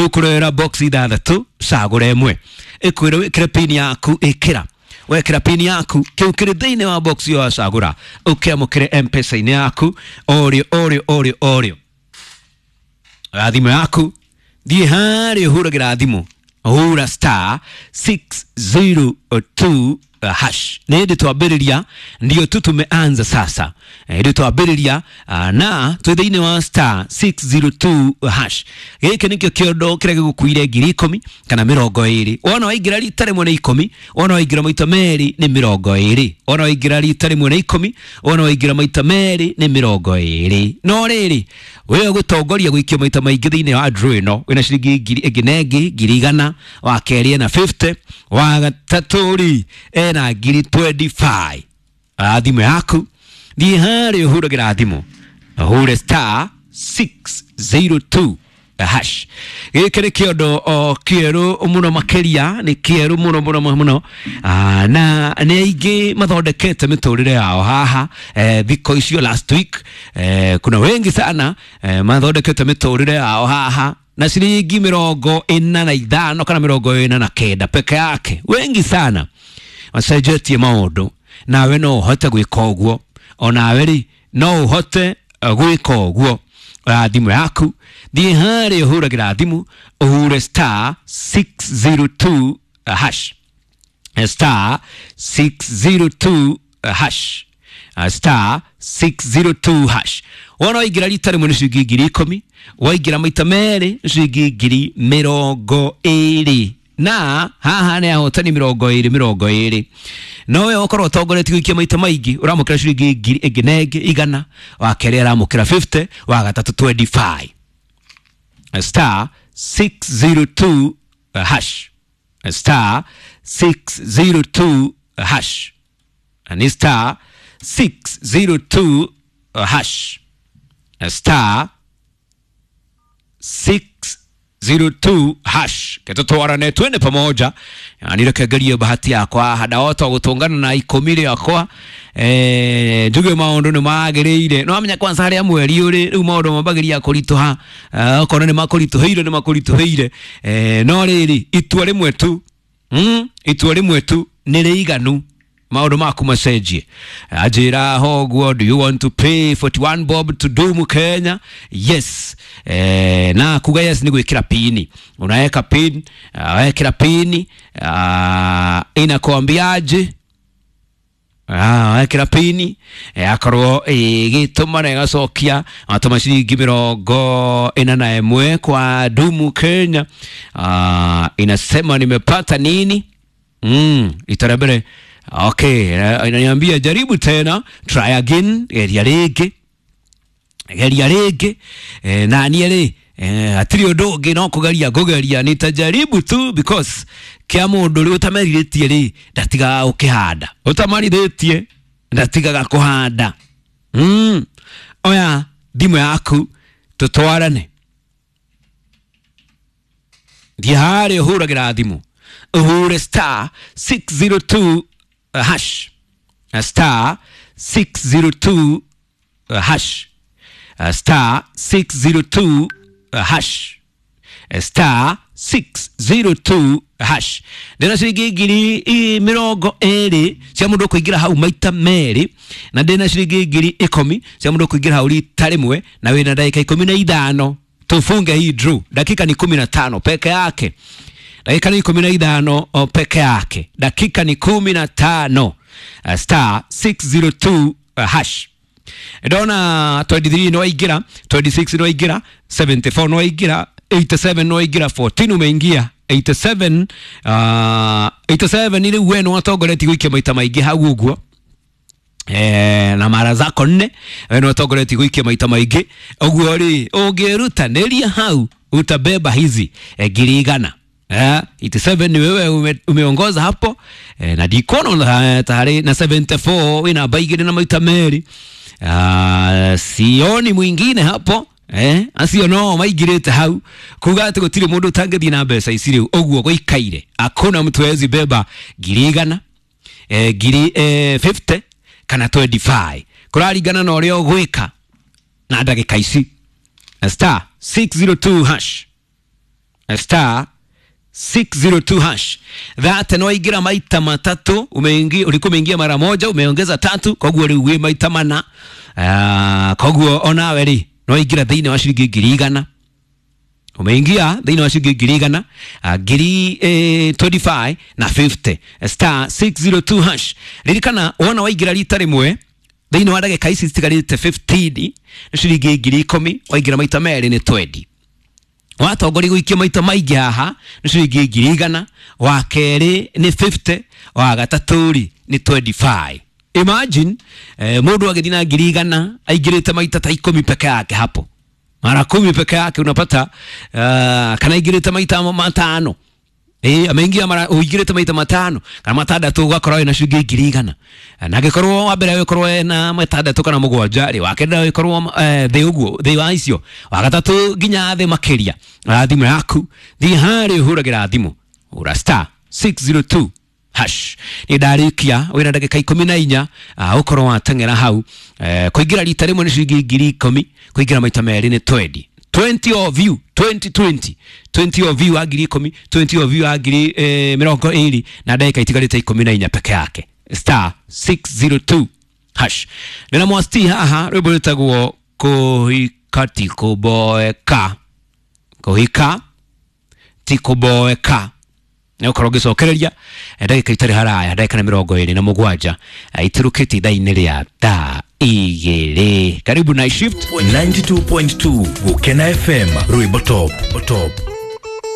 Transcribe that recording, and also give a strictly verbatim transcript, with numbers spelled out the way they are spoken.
Ĩgũkũrehera box ithathatũ, cagũra ĩmwe, ĩkwĩre wĩkĩre pin yaku, ĩkĩra. Wekĩra pin yaku, kĩu kĩrĩ thĩinĩ wa box ĩyo wacagũra, ũkĩamũkĩre M-Pesa-inĩ yaku orĩo orĩo orĩo orĩo. Oya thimũ yaku, thiĩ harĩa ũhũragĩra thimũ, hũra star six zero two hash. Nĩ hĩndĩ twambĩrĩria, ndio tu tumeanza sasa. Hĩndĩ twambĩrĩria na twĩ thĩinĩ wa star six zero two hash. Gĩkĩ nĩkĩo kĩondo kĩrĩa gĩgũkuire ngiri ikũmi kana mĩrongo ĩrĩ. Wona waingĩra rita rĩmwe nĩ ikũmi, wona waingĩra maita merĩ nĩ mĩrongo ĩrĩ. Wona waingĩra rita rĩmwe nĩ ikũmi, wona waingĩra maita merĩ nĩ mĩrongo ĩrĩ. No rĩrĩ, we ũgũtongoria gũikio maita maingĩ thĩinĩ wa draw ĩno, wĩna ciringi ngiri ĩngĩ na ĩngĩ, ngiri igana, wa kerĩ ena fifty, wa gatatũ rĩ ena ngiri twenty-five. Oya thimũ yaku, thiĩ harĩa ũhũragĩra thimũ, ũhũre star six zero two hash. Gĩkĩ nĩ kĩondo o kĩerũ mũno makĩria, nĩ kĩerũ mũno mũno mũno, na nĩ aingĩ mathondekete mĩtũrĩre yao haha thikũ icio last week. Kuna wengi sana mathondekete mĩtũrĩre yao haha na ciringi mĩrongo ĩna na ithano kana mĩrongo ĩna na kenda peke yake. Wengi sana macenjetie maũndũ, nawe no ũhote gwĩka ũguo, onawe rĩ no ũhote gwĩka ũguo. Oya thimũ yaku, thiĩ harĩa ũhũragĩra thimũ, ũhure star six zero two hash, star six zero two hash, star six zero two hash. Wona waingĩra rita rĩmwe nĩ ciringi ngiri ikũmi, waingĩra maita merĩ nĩ ciringi ngiri mĩrongo ĩrĩ. Na haha nĩ ahotani mĩrongo ĩrĩ mĩrongo ĩrĩ. No we ũkorwo ũtongoretie gũikia maita maingĩ, ũramũkĩra ciringi ngiri ĩngĩ na ĩngĩ igana, wa kerĩ aramũkĩra fifty, wa gatatũ twenty-five. Star six zero two hash, star six zero two hash, ni star six zero two hash, star six zero two hash. Ketutwarane twende pamoja. Nirekegerie bahati yakwa hadawota gutungana na ikũmi rĩakwa. Eh, njuge maũndũ nĩ magĩrĩire. No amenya kwanza harĩa mweri ũrĩ, rĩu maũndũ mambagĩria kũritũha. Okorwo nĩ makũritũhĩire nĩ makũritũhĩire. Eh, no rĩrĩ itua rĩmwe tu. Mm, itua rĩmwe tu nĩ rĩiganu maũndũ maku macenjie. Anjĩra hoguo, do you want to pay forty-one bob to Dumu Kenya? Yes. Eh, na kuga yes ni gwĩkĩra pini. Unaweka pin, wekĩra pini, inakuambiaje? Ah, wekĩra pini, akorwo ĩgĩtũma na ĩgacokia, atũma ciringi mĩrongo ĩna na ĩmwe kwa Dumu Kenya. Ah, inasema nimepata nini? Mm, itarebere. Okay, inaniambia jaribu tena, try again, geria rĩngĩ, geria rĩngĩ. Eh, na niĩ rĩ, eh, hatirĩ ũndũ ũngĩ no kũgeria ngũgeria, nitajaribu tu because kĩa mũndũ rĩ ũtamerithĩtie rĩ ndatigaga gũkĩhanda, ũtamarithĩtie ndatigaga kũhanda. Mm, oya thimũ yaku tũtwarane. Thiĩ harĩa ũhũragĩra thimũ, ũhũre star six zero two hash, star six zero two hash, star six zero two hash, star six zero two hash. Ndĩna ciringi ngiri mĩrongo ĩrĩ cia mũndũ kũingĩra hau maita merĩ, na ndĩna ciringi ngiri ikũmi cia mũndũ kũingĩra hau rita rĩmwe, na wĩna ndagĩka ikũmi na ithano tufunge hii draw. Dakika ni kumi na tano peke yake. Dakika ni kumi na ithano peke yake. Dakika ni kumi na tano. Star six zero two hash. Ndona twenty-three no waingĩra, twenty-six no waingĩra, seventy-four no waingĩra, eighty-seven no waingĩra, fourteen umeingia, eighty-seven, uh, eighty-seven ni rĩu we nĩ watongoretie gũikia maita maingĩ hau ũguo. Eh, na mara zako nne we nĩ watongoretie gũikia maita maingĩ ũguo rĩ, ũngĩrutanĩria hau utabeba hizi eh, ngiri igana. Eh, eighty-seven ni wewe ume, umeongoza hapo. Eh, na dikono tayari na seventy-four wina baigire na maita meri. Ah, sioni mwingine hapo. Eh, acio no maigirite hau kuga ati gutiri mundu utangithie na mbeca ici riu uguo guikaire. Hakuna mtu hawezi beba ngiri igana, eh, ngiri, eh, fifty kana twenty-five kuraringana na uria ugwika na ndagika ici. Star six zero two hash. Star six zero two hash. That no ingira maita matatu, umeingia, ulikuwa umeingia mara moja, umeongeza tatu, koguo riu wi maita mana. Ah, koguo onawe ri no ingira thiini wa ciringi ngiri igana. Umeingia thiini wa ciringi ngiri igana, ngiri eh, twenty-five na fifty. Star six zero two hash. Ririkana wona waingira rita rimwe thiini wa ndagika ici citigarite fifteen, ciringi ngiri ikumi, waingira maita meri ni twenty. Watongoria guikia maita maingi haha ni ciringi ngiri igana, wa keri ni fifty, wa gatatu ri ni twenty-five. Imagine eh, mundu agithii na ngiri igana aingirite maita ta ikumi peke yake hapo, mara kumi peke yake unapata uh, kana aingirite maita matano. Eh, ameingia mara uingirite maita matano kana matandatu ugakorwo na ciringi ngiri igana, na angikorwo wa mbere ukorwo na matandatu kana mugwanja ri, wa kenda ukorwo thi uguo thi wa icio, wa gatatu nginya thi makiria. Thimu yaku thi hari uhuragira thimu ura star six zero two hash. Ni ndarikia wina ndagika ikumi na inya ukorwo wateng'era hau. Kuingira rita rimwe ni ciringi ngiri ikumi, kuingira maita meri ni twenty. twenty of you, twenty twenty, twenty of you wa ngiri ikumi, twenty of you wa ngiri eh, mĩrongo ĩrĩ na ndagika itigarĩte ikumi na inya peke yake. Star six zero two hash. Nina mwasti haha rwĩmbo rwĩtagwo kũhika ti kũboeka, kũhika ti kũboeka. Nĩ ũkorwo ngĩcokereria ndagika itarĩ haraya, ndagika na mĩrongo ĩrĩ na mũgwanja itirũkĩte ithaa-inĩ rĩa thaa igĩrĩ. Karibu Night Shift ninety-two point two Gukena F M, rwĩmbo top top.